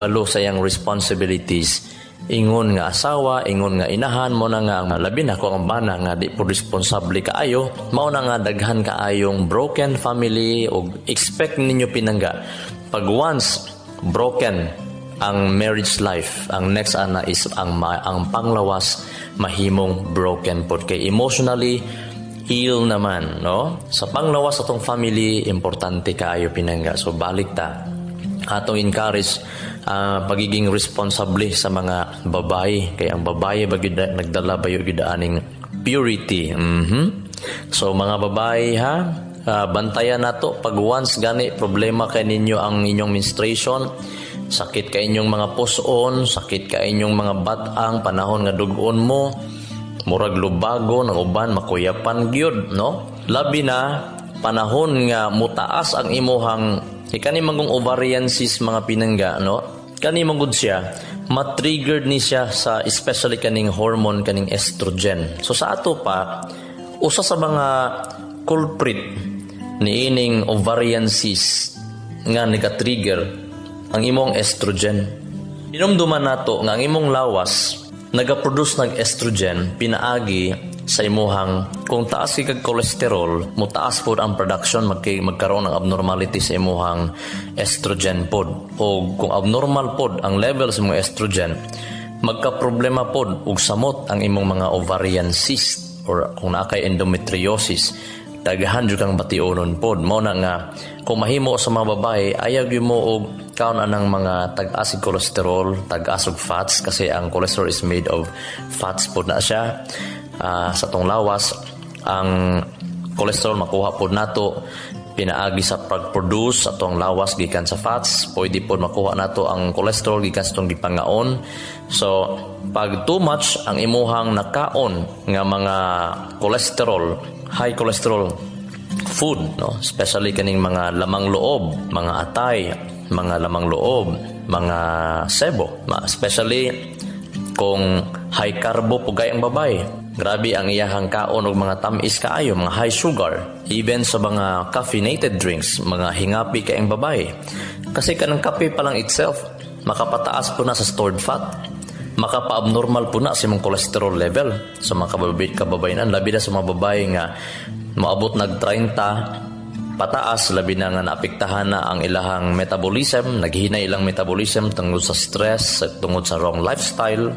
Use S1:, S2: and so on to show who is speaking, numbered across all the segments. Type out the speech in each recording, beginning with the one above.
S1: Lo sa iyang responsibilities ingon nga asawa, ingon nga inahan. Mo na nga ang labi na ko ang bana nga di po responsable kaayo, mao na nga daghan kaayong broken family. Og expect ninyo, pinangga, pag once broken ang marriage life, ang next ana is ang panglawas mahimong broken pod kay emotionally ill naman, no? Sa panglawas atong family, importante kaayo, pinangga. So balik ta atong encourage pagiging responsable sa mga babae kay ang babae ba gyud nagdala ba gyud aning purity. So mga babae ha, bantayan nato. Pag once gani problema kay ninyo ang inyong menstruation, sakit kay inyong mga puson, sakit kay inyong mga batang panahon nga dugon mo, murag lubago ng uban, makuyapan gyud, no? Labi na panahon nga mutaas ang imuhang kani manggong ovarian cyst, mga pinangga, no? Kani manggod siya matriggered ni siya sa especially kaning hormone, kaning estrogen. So sa ato pa, usa sa mga culprit niining ovarian cyst nga nega-trigger ang imong estrogen. Hinumduman nato nga ang imong lawas nagaproduce nag estrogen pinaagi sa imuhang kung taas kay kag cholesterol, mutaas pod ang production, magkaroon ng abnormality sa imuhang estrogen pod. O kung abnormal pod ang level sa imong estrogen, magka-problema pod ug samot ang imong mga ovarian cyst or kung naa kay endometriosis, daghan jud kang bationon pod. Mao na nga kung mahimo sa mga babae, ayaw gyud mo og kaon anang mga tag-as og cholesterol, tag-as og fats, kasi ang cholesterol is made of fats pod na siya. Sa atong lawas, ang cholesterol makuha pod nato pinaagi sa pag-produce atong lawas gikan sa fats. Pwede pod makuha nato ang cholesterol gikan sa atong gipangaon. So pag too much ang imuhang nakaon nga mga cholesterol, high cholesterol food, no, especially kaning mga lamang loob, mga atay, mga lamang loob, mga sebo, especially kung high carbo po ang babae. Grabe ang iyahang kaon og mga tamis kaayo, mga high sugar, even sa mga caffeinated drinks, mga hingapi kay ang babae. Kasi kanang kape pa lang itself, makapataas po na sa stored fat, makapa-abnormal po na sa imong cholesterol level sa mga kababayenan, labi na sa mga babae nga moabot nag 30 pataas, labi na nga naapektahan na ang ilahang metabolism, naghina ilang metabolism tungod sa stress, tungod sa wrong lifestyle,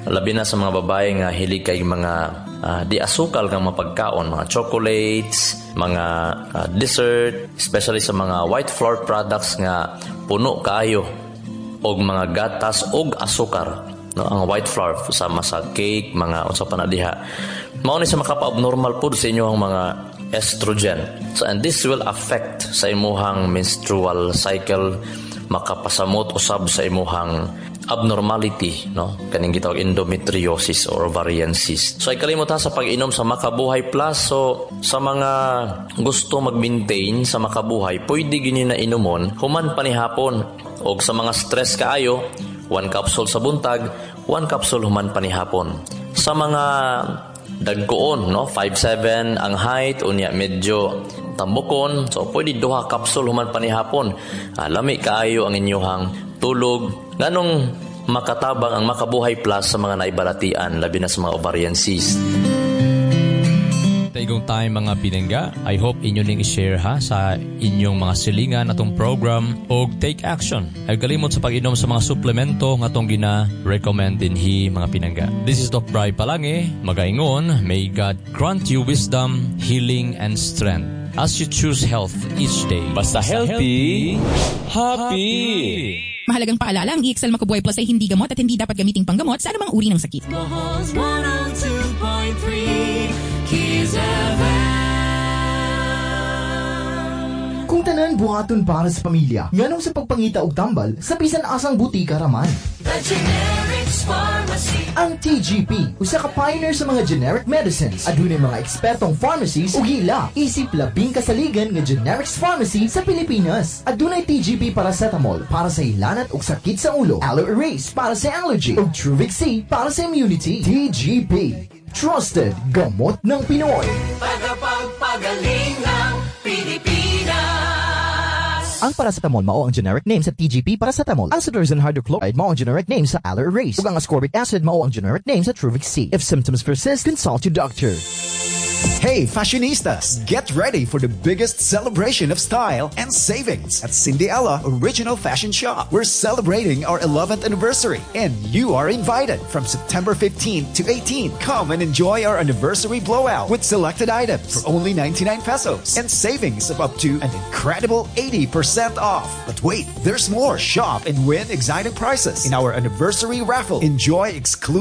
S1: labi na sa mga babae nga hilig kay mga di asukal nga mapagkaon, mga chocolates, mga dessert, especially sa mga white flour products nga puno kaayo og mga gatas og asukar, no? Ang white flour sama sa cake, mga unsa pa na diha, mao ni sa makapa-abnormal pud sa inyong mga estrogen. So and this will affect sa imuhang menstrual cycle, makapasamot usab sa imuhang abnormality, no, kaning gitawag endometriosis or ovarian cyst. So ay kalimot ha sa pag-inom sa Makabuhay Plus. So sa mga gusto mag-maintain sa Makabuhay, pwede gini na inumon human panihapon. Og sa mga stress kaayo, one capsule sa buntag, one capsule human panihapon. Sa mga dagkoon, no, 5'7 ang height unya medyo tambukon, so pwede duha capsule human panihapon. Lami kaayo ang inyuhang tulog. Nganong makatabang ang Makabuhay Plus sa mga naibalatian, labi na sa mga ovarian cyst? Taigong time, mga pinangga. I hope inyo ning i-share ha sa inyong mga silingan atong program og take action. Ay kalimot sa pag-inom sa mga suplemento nga atong gina-recommend dinhi, mga pinangga. This is Doc Bry Palange, magaingon, may God grant you wisdom, healing, and strength as you choose health each day.
S2: Basta healthy, happy.
S3: Mahalagang paalala, ang EXL Makabuhay Plus ay hindi gamot at hindi dapat gamiting panggamot sa anumang uri ng sakit.
S4: Bohol's 102.3 Keys FM.
S5: Kung tanan buhaton para sa pamilya, nganong sa pagpangita og tambal sa bisan asang butika raman?
S4: The Generics Pharmacy.
S5: Ang TGP, usa ka pioneer sa mga generic medicines. Adunay mga ekspertong pharmacies ug hila isip labing kasaligan nga generics pharmacy sa Pilipinas. Adunay TGP paracetamol para sa hilanat ug sakit sa ulo, Aloe Erase para sa allergy, ug Truvix C para sa immunity. TGP, trusted gamot ng Pinoy.
S4: Tagapagpagaling ng Pilipinas.
S5: Ang paracetamol mao ang generic name sa TGP paracetamol. Ang cetirizine hydrochloride mao ang generic name sa Aller-Erase. Ug ang ascorbic acid mao ang generic name sa Truvix C. If symptoms persist, consult your doctor.
S6: Hey, fashionistas! Get ready for the biggest celebration of style and savings at Cindy Ella Original Fashion Shop. We're celebrating our 11th anniversary, and you are invited from September 15 to 18. Come and enjoy our anniversary blowout with selected items for only 99 pesos and savings of up to an incredible 80% off. But wait, there's more. Shop and win exciting prizes in our anniversary raffle. Enjoy exclusive